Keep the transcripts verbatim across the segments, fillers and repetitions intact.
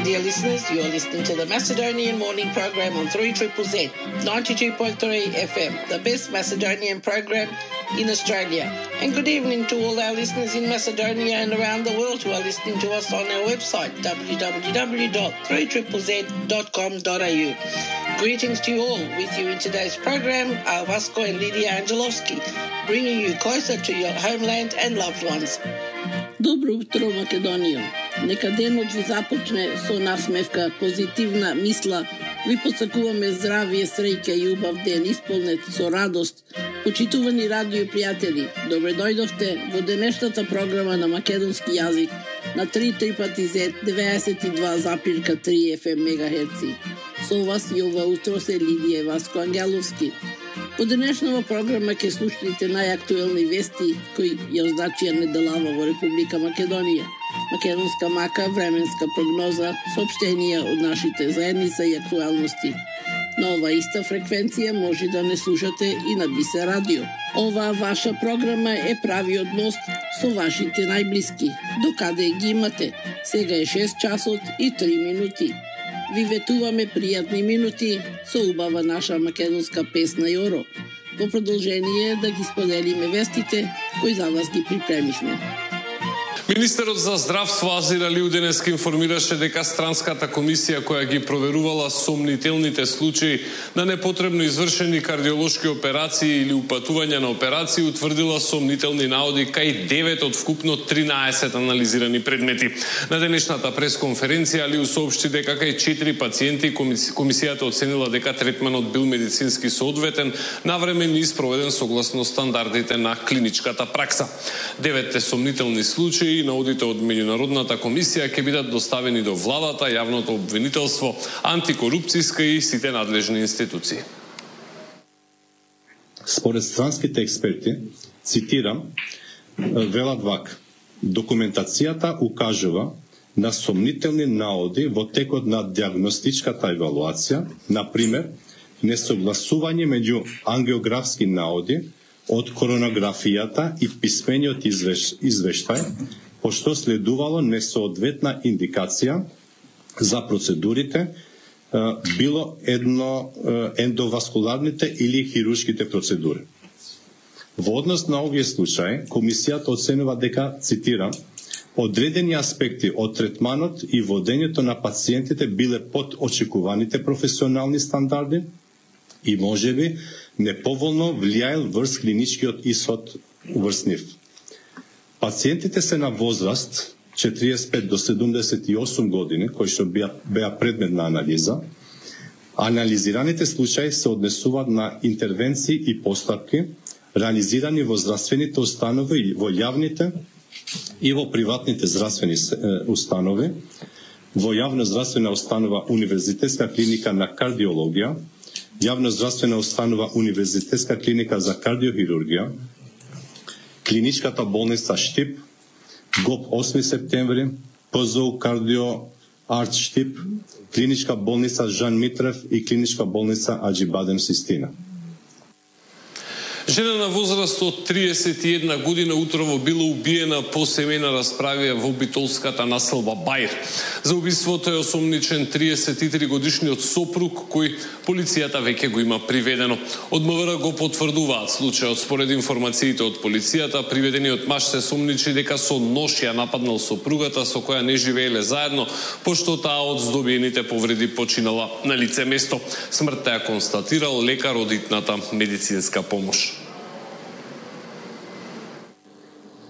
dear listeners, you are listening to the Macedonian Morning Program on three Z Z Z, ninety-two point three F M, the best Macedonian program in Australia. And good evening to all our listeners in Macedonia and around the world who are listening to us on our website, w w w dot three z z z dot com dot a u. Greetings to you all. With you in today's program are Vasco and Lydia Angelovski, bringing you closer to your homeland and loved ones. Добро утро, Македонија. Нека денот ви започне со насмевка, позитивна мисла. Ви посакуваме здравие, среќа и убав ден, исполнет со радост. Почитувани радио пријатели, добре дојдовте во денешната програма на македонски јазик на три трипати зет деветдесет и два запирка три Ф М мегахерци. Со вас и ова утро се Лидија и Васко Ангеловски. Во денешнава програма ќе слушнете најактуелни вести кои ја означија неделава во Република Македонија, македонска мака, временска прогноза, соопштенија од нашите заедница и актуелности. На ова иста фреквенција може да не слушате и на Бисе радио. Оваа ваша програма е правиот мост со вашите најблиски. Докаде ги имате? Сега е шест часот и три минути. Ви ветуваме пријатни минути со убава наша македонска песна Јоро. Во продолжение да ги споделиме вестите кои за вас ги припремивме. Министерот за здравство Азир Алиу денеска информираше дека странската комисија која ги проверувала сомнителните случаи на непотребно извршени кардиолошки операции или упатувања на операции утврдила сомнителни наоди кај девет од вкупно тринаесет анализирани предмети. На денешната пресконференција Алиу соопшти дека кај четири пациенти комисијата оценила дека третманот бил медицински соодветен, навремено испроведен согласно стандардите на клиничката пракса. Деветте сомнителни случаи и наодите од меѓународната комисија ќе бидат доставени до владата, јавното обвинителство, антикорупцијска и сите надлежни институции. Според странските експерти, цитирам, велат вака: документацијата укажува на сомнителни наоди во текот на диагностичката евалуација, например, несогласување меѓу ангиографски наоди од коронографијата и писмениот извеш, извештај, пошто следувало несоодветна индикација за процедурите, било едно ендоваскуларните или хируршките процедури. Во однос на овие случаи, комисијата оценува дека, цитирам, одредени аспекти од третманот и водењето на пациентите биле под очекуваните професионални стандарди и можеби неповолно влијаел врз клиничкиот исход врз нив. Пациентите се на возраст четириесет и пет до седумдесет и осум години, кои што беа, беа предмет на анализа. Анализираните случаи се однесуваат на интервенции и постапки реализирани во здравствените установи и во јавните и во приватните здравствени установи, во јавна здравствена установа Универзитетска клиника на кардиологија, јавна здравствена установа Универзитетска клиника за кардиохирургија, клиничката болница Штип, ГОП осми септември, П З У Кардио Арт Штип, клиничка болница Жан Митрев и клиничка болница Аџибадем Систина. Жена на возраст од триесет и една година утрово била убиена по семејна расправија во битолската населба Бајр. За убиството е осомничен триесет и три годишниот сопруг, кој полицијата веќе го има приведено. Од М В Р го потврдуваат случајот. Според информациите од полицијата, приведениот маж се сомничи дека со нож ја нападнал сопругата со која не живееле заедно, пошто таа од здобиените повреди починала на лице место. Смртта ја констатирал лекар од итната медицинска помош.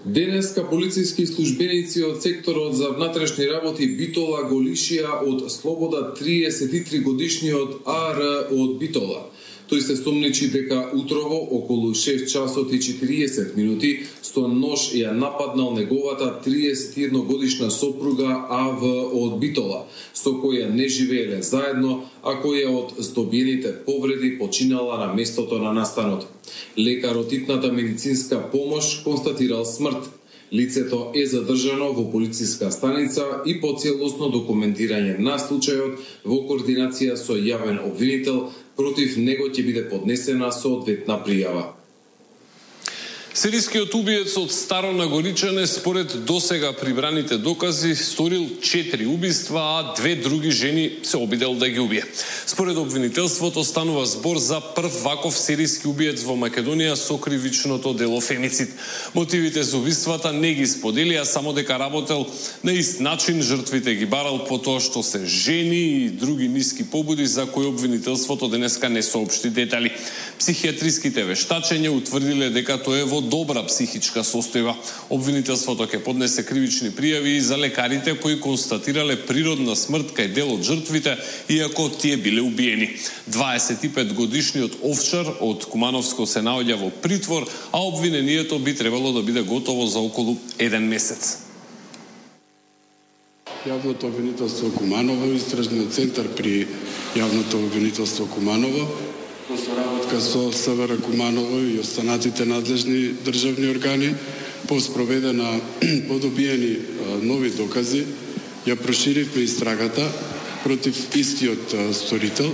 Денеска полициски службеници од секторот за внатрешни работи Битола го лишија од слобода триесет и три годишниот А Р од Битола. Тој се сомничи дека утрово околу шест часот и четириесет минути со нож ја нападнал неговата триесет и една годишна сопруга А В од Битола, со која не живееле заедно, а која од здобиените повреди починала на местото на настанот. Лекар од итната медицинска помош констатирал смрт. Лицето е задржано во полициска станица и по целосно документирање на случајот во координација со јавен обвинител, против него ќе биде поднесена соодветна пријава. Серискиот убиец од Старо Нагоричане според досега прибраните докази сторил четири убиства, а две други жени се обидел да ги убие. Според обвинителството станува збор за прв ваков сериски убиец во Македонија со кривичното дело фемицид. Мотивите за убиствата не ги споделија, само дека работел на ист начин, жртвите ги барал по тоа што се жени и други ниски побуди за кои обвинителството денеска не соопшти детали. Психијатриските вештачења утврдиле дека тоа е во добра психичка состојба. Обвинителството ќе поднесе кривични пријави и за лекарите кои констатирале природна смрт кај дел од жртвите, иако тие биле убиени. дваесет и пет годишниот овчар од Кумановско се наоѓа во притвор, а обвинението би требало да биде готово за околу еден месец. Јавното обвинителство Куманово, истражниот центар при Јавното обвинителство Куманово, во соработка со СВР Куманово и останатите надлежни државни органи, по спроведена подобиени нови докази, ја проширивме истрагата против истиот сторител,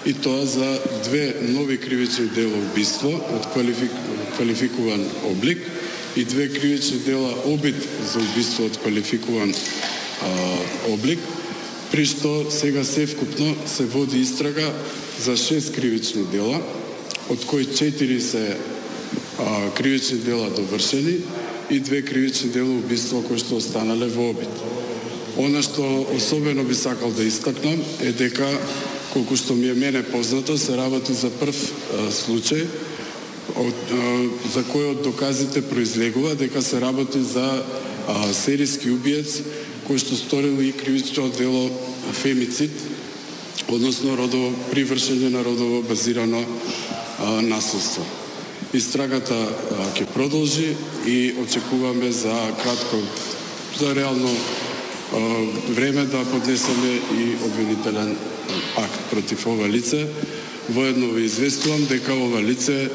и тоа за две нови кривични дела убиство од квалифик... квалификуван облик и две кривични дела обид за убиство од квалификуван а, облик, при што сега севкупно се води истрага за шест кривични дела, од кои четири се а, кривични дела довршени и две кривични дела убиство кои што останале во обид. Она што особено би сакал да истакнам е дека, колку што ми е мене познато, се работи за прв а, случај од, а, за кој од доказите произлегува дека се работи за а, сериски убиец кој што сторил и кривично дело фемицид, односно родово привршење на родово базирано а, насилство. Истрагата а, ќе продолжи и очекуваме за кратко, за реално а, време да поднесеме и обвинителен акт против ова лице. Воедно ви известувам дека ова лице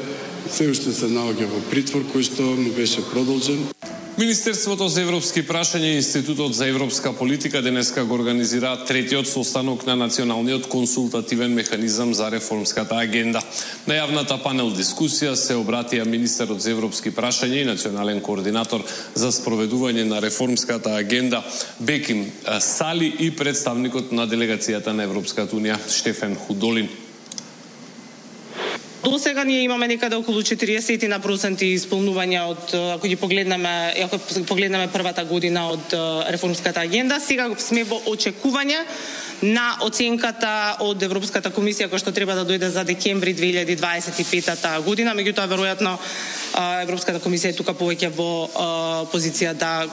се уште се наоѓа во притвор кој што му беше продолжен. Министерството за европски прашања и Институтот за европска политика денеска го организира третиот состанок на Националниот консултативен механизам за реформската агенда. На јавната панел дискусија се обратија министерот за европски прашања и национален координатор за спроведување на реформската агенда Беким Сали и представникот на делегацијата на Европската унија Штефан Худолин. До сега ние имаме некаде околу четириесет на проценти исполнување од, ако ги погледнеме, ако погледнеме првата година од реформската агенда, сега сме во очекување на оценката од Европската комисија која што треба да дојде за декември две илјади дваесет и пета година, меѓутоа веројатно Европската комисија е тука повеќе во позиција да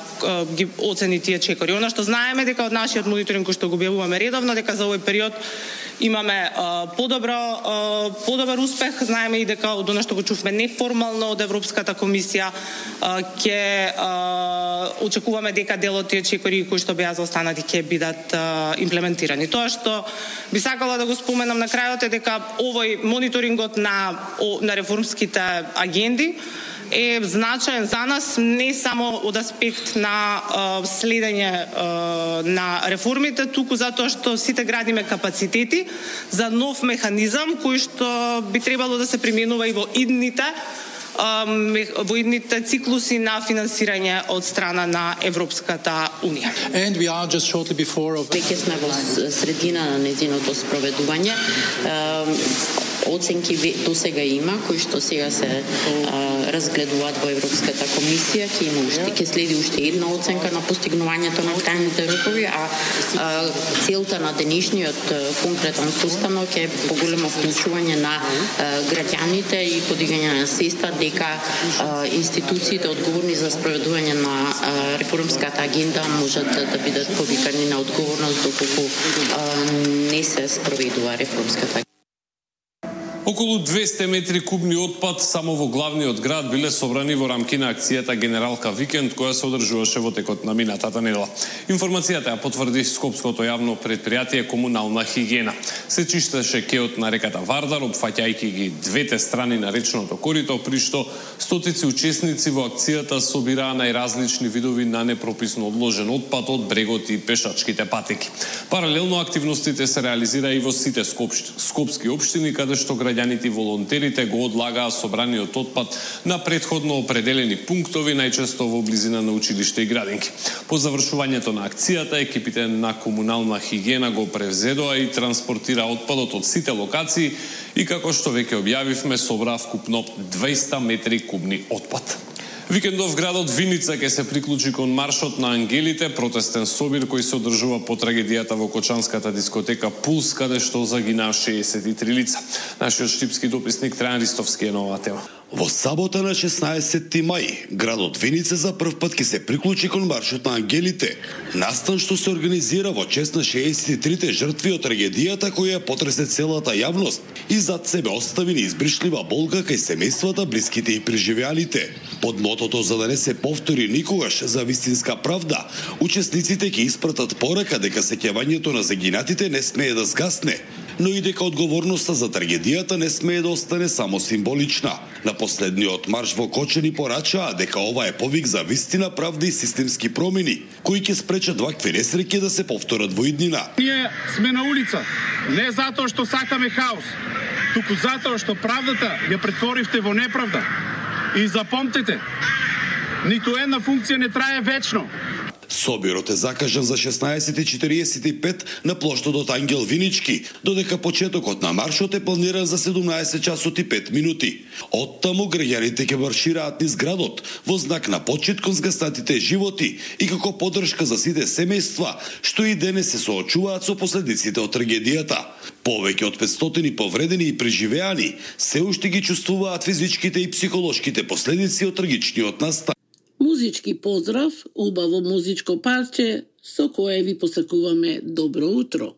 ги оцени тие чекори. Она што знаеме дека од нашиот мониторинг кој што го објавуваме редовно, дека за овој период имаме подобро подобар успех. Знаеме и дека од она што го чувме неформално од Европската комисија ќе очекуваме дека дел од тие чекори кои што беа заостанати ќе бидат имплементирани. Тоа што би сакала да го споменам на крајот е дека овој мониторингот на на реформските агенди е значаен за нас не само од аспект на uh, следење uh, на реформите, туку затоа што сите градиме капацитети за нов механизам кој што би требало да се применува и во идните uh, во идните циклуси на финансирање од страна на Европската унија. And we are just shortly before of... Веќе сме во средина на нејзиното спроведување. Uh, Оценки до сега има, кои што сега се а, разгледуваат во Европската комисија, ќе има уште, ќе следи уште една оценка на постигнувањето на крајните рокови, а, а целта на денешниот конкретен состанок е поголемо вклучување на а, граѓаните и подигање на свеста дека а, институциите одговорни за спроведување на а, реформската агенда можат да, да бидат повикани на одговорност доколку а, не се спроведува реформската агенда. Околу двесте метри кубни отпад само во главниот град биле собрани во рамки на акцијата Генералка Викенд, која се одржуваше во текот на минатата недела. Информацијата ја потврди Скопското јавно предпријатие Комунална хигиена. Се чистеше кеот на реката Вардар, опфаќајќи ги двете страни на речното корито, при што стотици учесници во акцијата собираа најразлични видови на непрописно одложен отпад од брегот и пешачките патеки. Паралелно активностите се реализира и во сите скопски општини, каде што граѓаните и волонтерите го одлагаа собраниот отпад на претходно определени пунктови, најчесто во близина на училиште и градинки. По завршувањето на акцијата, екипите на комунална хигиена го превзедоа и транспортира отпадот од сите локации и како што веќе објавивме, собраа вкупно дваесет метри кубни отпад. Викендов градот Виница ќе се приклучи кон маршот на ангелите, протестен собир кој се одржува по трагедијата во кочанската дискотека Пулс, каде што загинаа шеесет и три лица. Нашиот штипски дописник Трајан Ристовски е на оваа тема. Во сабота на шеснаесетти мај, градот Виница за прв пат ќе се приклучи кон маршот на ангелите. Настан што се организира во чест на шеесет и трите жртви од трагедијата која потресе целата јавност и зад себе остави неизбришлива болка кај семејствата, блиските и преживеаните. Под мотото за да не се повтори никогаш за вистинска правда, учесниците ќе испратат порака дека сеќавањето на загинатите не смее да згасне, но и дека одговорноста за трагедијата не смее да остане само символична. На последниот марш во Кочани порачаа дека ова е повик за вистина, правда и системски промени, кои ќе спречат вакви несреќи да се повторат во иднина. Ние сме на улица, не затоа што сакаме хаос, туку затоа што правдата ја претворивте во неправда. И запомтете, ниту една функција не трае вечно. Собирот е закажан за шеснаесет и четириесет и пет на плоштадот Ангел Винички, додека почетокот на маршот е планиран за седумнаесет часот и пет минути. Оттаму граѓаните ќе маршираат низ градот во знак на почит кон згаснатите животи и како поддршка за сите семејства што и денес се соочуваат со последиците од трагедијата. Повеќе од петстотини повредени и преживеани се уште ги чувствуваат физичките и психолошките последици од трагичниот настан. Музички поздрав, убаво музичко парче со кое ви посакуваме добро утро.